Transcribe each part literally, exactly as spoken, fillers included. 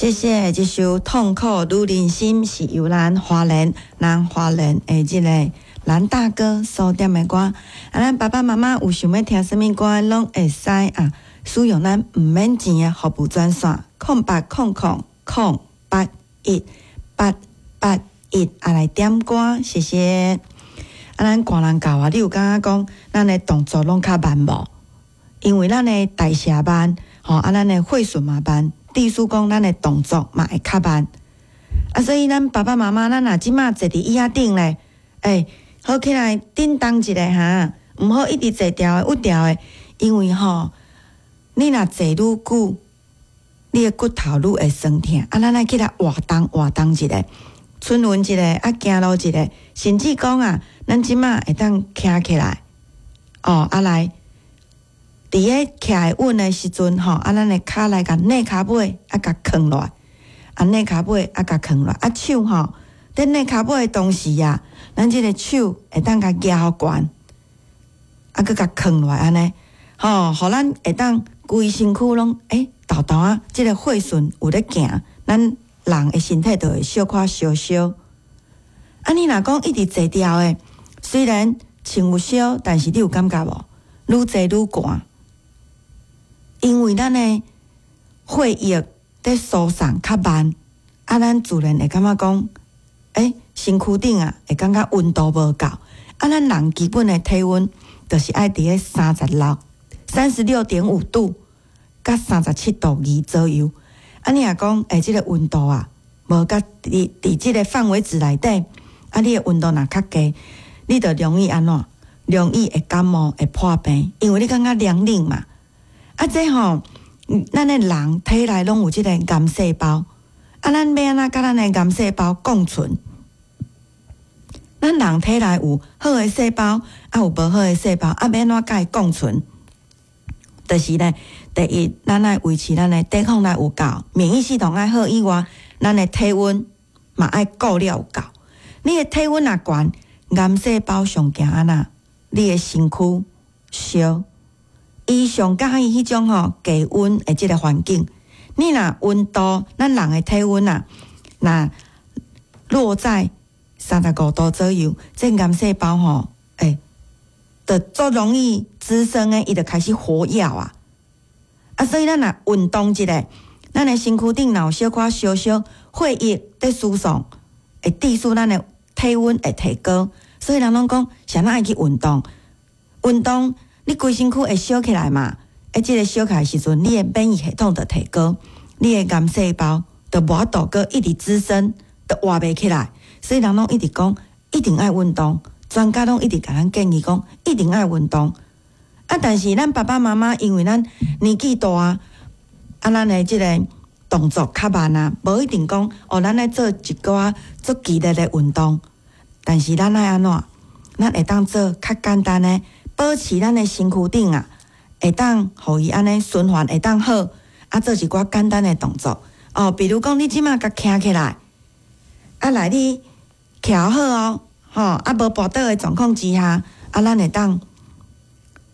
謝謝，這首《痛苦女人心》是由咱花蓮南花蓮的這个藍大哥所點的歌。啊，咱爸爸媽媽有想欲聽啥物歌，攏會使啊，使用咱毋免錢的服務專線空八空空空八一八八一啊來點歌，謝謝。啊，咱寒人到啊，你有感覺講咱的動作攏較慢無？因為咱的代謝慢，吼啊，咱的血循嘛慢，意思講咱的動作嘛會較慢。啊，所以咱爸爸媽媽，咱若這馬坐佇椅仔頂咧，欸，好起來振動一下哈，毋好一直坐牢的、鬱牢的，因為吼，你若坐愈久，你的骨頭愈會酸疼。啊，咱愛起來活動活動一下，春運一下，啊，行路一下，甚至講啊，咱這馬會當徛起來，哦，啊來。佇咧徛會穩的時陣吼，啊，咱的跤來共躡跤尾，啊，共囥落來，啊，躡跤尾，啊，共囥落來，啊，手吼，佇躡跤尾的同時啊，咱這个手會當共舉懸，啊，閣共囥落來按呢，吼，予咱會當規身軀攏欸，沓沓仔，這个血順有咧行，咱人的身體就會小可燒燒。啊，你若講一直坐牢的，雖然穿有燒，但是你有感覺無？愈坐愈寒。因為咱的血液佇輸送較慢，啊，咱自然會感覺講，欸，身軀頂啊會感覺溫度無夠。啊，咱人基本的體溫就是愛佇咧三十六、三十六點五度，佮三十七度二左右。啊，你若講，欸，這个溫度啊，無佮佇佇這个範圍值內底，啊，你的溫度若較低，你就容易按怎？容易會感冒、會破病，因為你感覺涼冷嘛。啊，這吼，咱的人體內攏有這个癌細胞，啊，咱欲按怎佮咱的癌細胞共存？咱人體內有好的細胞，啊，有無好的細胞，啊，欲按怎佮伊共存？就是咧，第一，咱愛維持咱的抵抗力有夠，免疫系統愛好以外，咱的體溫嘛愛顧了有夠。你的體溫若懸，癌細胞上驚按怎？你的身軀燒。伊上佮意彼種吼低溫的這个環境。你若溫度，咱人的體溫啊，若落在三十五度左右，這癌細胞吼，欸，就足容易滋生的，伊就開始活躍啊。啊，所以咱若運動一下，咱的身軀頂若有小可燒燒，血液佇輸送，會致使咱的體溫會提高。所以人攏講，啥人愛去運動？運動，你規身軀會燒起來嘛？欸，這个燒起來時陣，你的免疫系統就提高，你的癌細胞就無法度閣一直滋生，就活袂起來。所以人攏一直講，一定愛運動。專家攏一直共咱建議講，一定愛運動。啊，但是咱爸爸媽媽因為咱年紀大，啊，咱的這个動作較慢啊，無一定講哦，咱愛做一寡足劇烈的運動。但是咱愛按怎？咱會當做較簡單的，保持咱的身軀頂啊，會當予伊按呢循環會當好，啊，做一寡簡單的動作哦，比如講你這馬共徛起來，啊來你徛好哦，吼，啊無跋倒的狀況之下，啊咱會當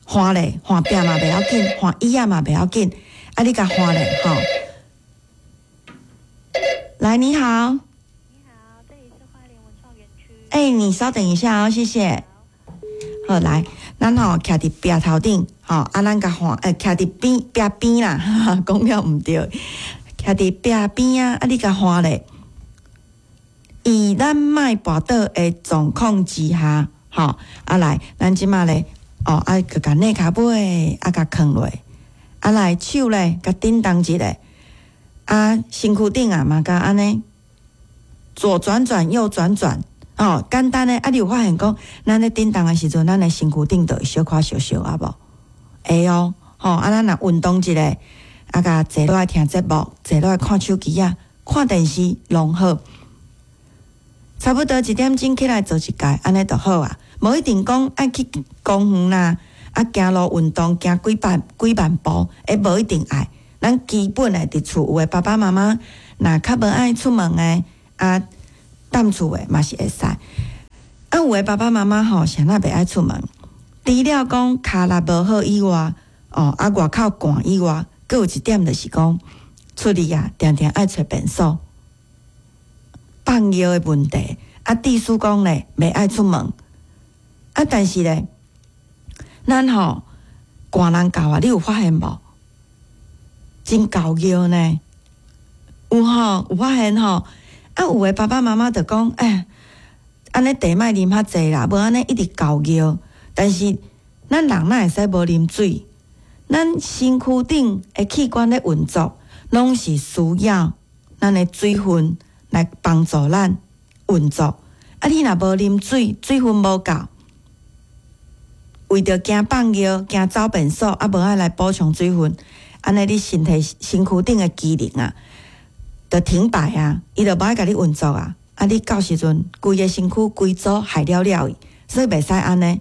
換咧，換壁嘛袂要緊，換椅仔嘛袂要緊，啊你共換咧，吼。來，你好。你好，這裡是花蓮文創園區。欸，你稍等一下哦，謝謝。好，來，咱吼徛佇壁頭頂，吼啊，咱共換，欸，徛佇邊壁邊啦，講了毋對，徛佇壁邊啊，啊，你共換咧。以咱莫跋倒的狀況之下，吼，啊來，咱這馬咧，哦，啊，閣共躡跤尾，啊，共囥落，啊來手咧，共振動一下，啊，身軀頂啊嘛共按呢，左轉轉，右轉轉。哦，簡單的啊！你有發現講，咱咧振動的時陣，咱的身軀頂就會小可燒燒啊無？會哦，吼啊！咱若運動一下，啊，共坐落來聽節目，坐落來看手機啊，看電視攏好。差不多一點鐘起來做一擺，按呢就好啊。無一定講愛去公園啦，啊，行路運動行幾百幾萬步，欸，無一定愛。咱基本的佇厝有的爸爸媽媽，若較無愛出門的啊。踮厝的嘛是會使，啊，有的爸爸媽媽吼，啥那袂愛出門，除了講跤力無好以外，哦，啊，外口寒以外，閣有一點就是講，出去啊，定定愛揣便所，放尿的問題。啊，致使講咧，袂愛出門。啊，但是咧，咱吼寒人猴啊，你有發現無？真猴尿呢，有吼，有發現吼。啊，有的爸爸媽媽就講，欸，按呢茶莫啉較濟啦，無按呢一直猴尿。但是咱人哪會使無啉水？咱身軀頂的器官咧運作，攏是需要咱的水分來幫助咱運作。啊，你若無啉水，水分無夠，為著驚放尿、驚走便所，啊，無愛來補充水分，按呢你身體身軀頂的機能啊，就停擺啊，伊就無愛共你運作啊。啊，你到時陣規个身軀規組害了了去，所以袂使按呢。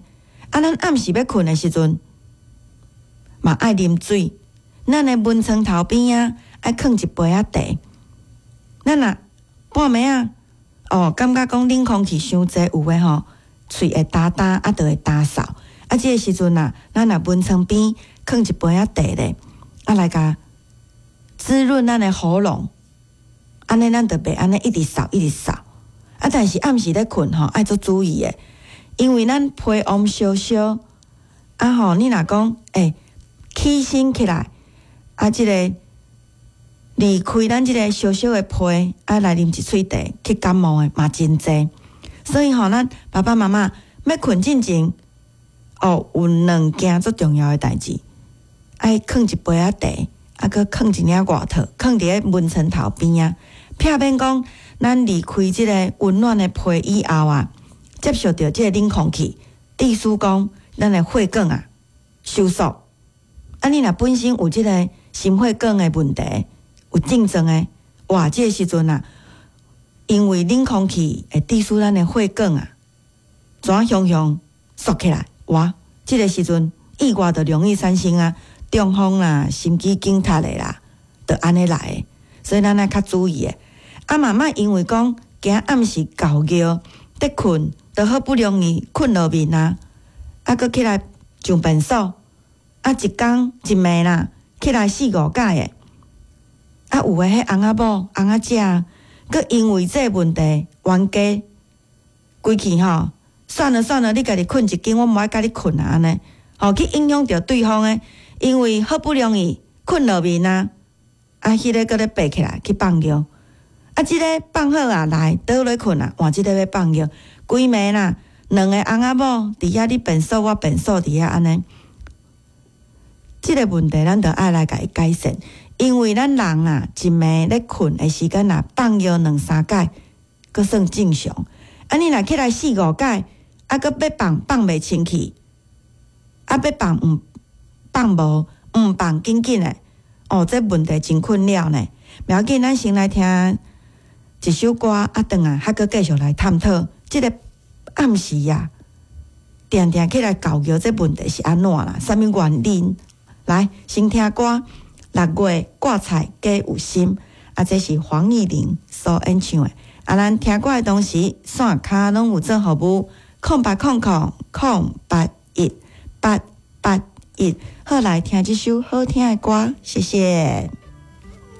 啊，咱暗時欲睏的時陣，嘛愛啉水。咱的門床頭邊仔愛囥一杯仔茶。咱若半暝仔，哦，感覺講冷空氣傷濟，有的吼，喙會焦焦，啊，就會焦嗽。啊，這个時陣啊，咱若門床邊囥一杯仔茶咧，啊，來共滋潤咱的喉嚨，按呢咱就袂按呢一直嗽一直嗽。啊，但是暗時咧睏吼，愛足注意的，因為咱被溫燒燒，啊吼，你若講欸起身起來，啊，這個離開咱這個燒燒的被，啊來啉一喙茶去感冒的嘛真濟。所以吼，咱爸爸媽媽欲睏進前，哦，有兩件足重要的代誌，愛囥一杯仔茶，啊，閣囥一領外套，囥佇咧門床頭邊仔，避免講咱離開這个溫暖的被以後啊，接觸著這个冷空氣，致使講咱的血管啊收縮。啊，你若本身有這个心血管的問題，有症狀的，哇，這个時陣啊，因為冷空氣會致使咱的血管啊，怎雄雄縮起來，哇，這个時陣意外就容易產生啊，中風啦、心肌梗塞的啦，就按呢來的。所以咱愛較注意的。啊，媽媽因為講驚暗時猴尿，佇睏，就好不容易睏落眠啊，啊，閣起來上便所，啊，一工一暝啦，起來四五擺的。啊，有的彼翁仔某、翁仔姐，閣因為這个問題冤家規氣吼，算了算了，你家己睏一間，我無愛佮你睏啊，按呢，吼去影響著對方的，因為好不容易睏落眠啊，啊，彼个閣咧爬起來去放尿，啊，這个放好啊，來倒落睏啊，換這个欲放尿，規暝啦，兩个翁仔某佇遐你便所，我便所佇遐按呢，這个問題咱著愛來共伊改善，因為咱人啊，一暝咧睏的時間若放尿兩三擺，閣算正常。啊，你若起來四五擺，啊，閣欲放放袂清氣，啊，欲放毋放無，毋放緊緊的，哦，這問題真困擾呢。袂要緊，咱先來聽一首歌，啊，轉來還閣繼續來探討這个暗時啊，定定起來猴尿這問題是按怎啦？啥物原因？來，先聽歌，六月掛菜加有心，啊，這是黃義玲所演唱的。啊，咱聽歌的同時，線跤攏有做服務，空八空空空八一八八一，好，來聽這首好聽的歌，謝謝。